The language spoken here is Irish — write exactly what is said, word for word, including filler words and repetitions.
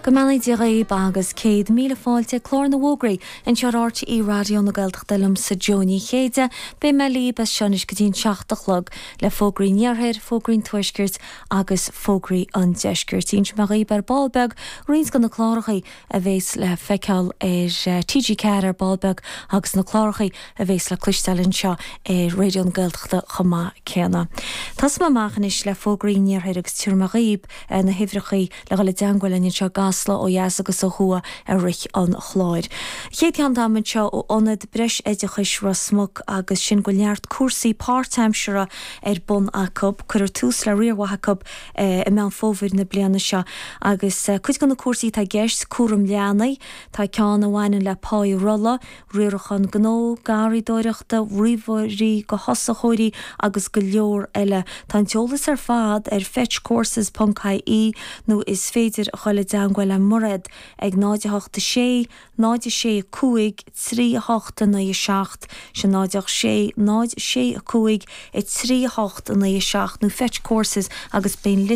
Go mbeannaí Dia dhaoibh agus céad míle fáilte clár na bhfógraí anseo ar RTÉ Raidió na Gaeltachta liomsa Jó Ní Chéide, Beidh mé libh as seo anois go dtí an seacht a chlog le fógraí an iarthair, fógraí an tuaiscirt agus fógraí an deiscirt. Inseoidh mé dhaoibh ar ball beag roinnt de na cláracha a bheas le feiceáil ar TG Ceathair ar ball beag agus na cláracha a bheas le cloisteáil anseo ar Raidió na Gaeltachta chomh maith céanna. Tosóidh mé amach anois le fógraí an iarthair agus tabharfaidh mé dhaoibh na huimhreacha le dhul i dteagmháil linn anseo i gCasla ó dheas agus ó thuaidh i rith an chláir. Chéad cheann dom anseo ó Ionad Breisoideachais Ros Muc agus sin go bhfuil neart cúrsaí páirtaimseartha ar bun acu, cuireadh tús le riar mhaith acu i Meán Fómhair na bliana seo agus cuid de na cúrsaí atá i gceist cúram leanaí, tá ceann a bhaineann le páí rolla, riarachán gnó, garraíodóireachta, ríomhairí do thosaitheoirí agus go leor eile. Tá an t-eolas ar fad ar fetchcourses.ie nó is féidir a dhul i dteagmháil le Mairéad ag náid a hocht a sé, náid a sé cúig, trí a hocht a naoi a seacht, sin náid a sé, náid sé cúig, a trí a hocht a naoi a seacht nó Fetch Courses agus beidh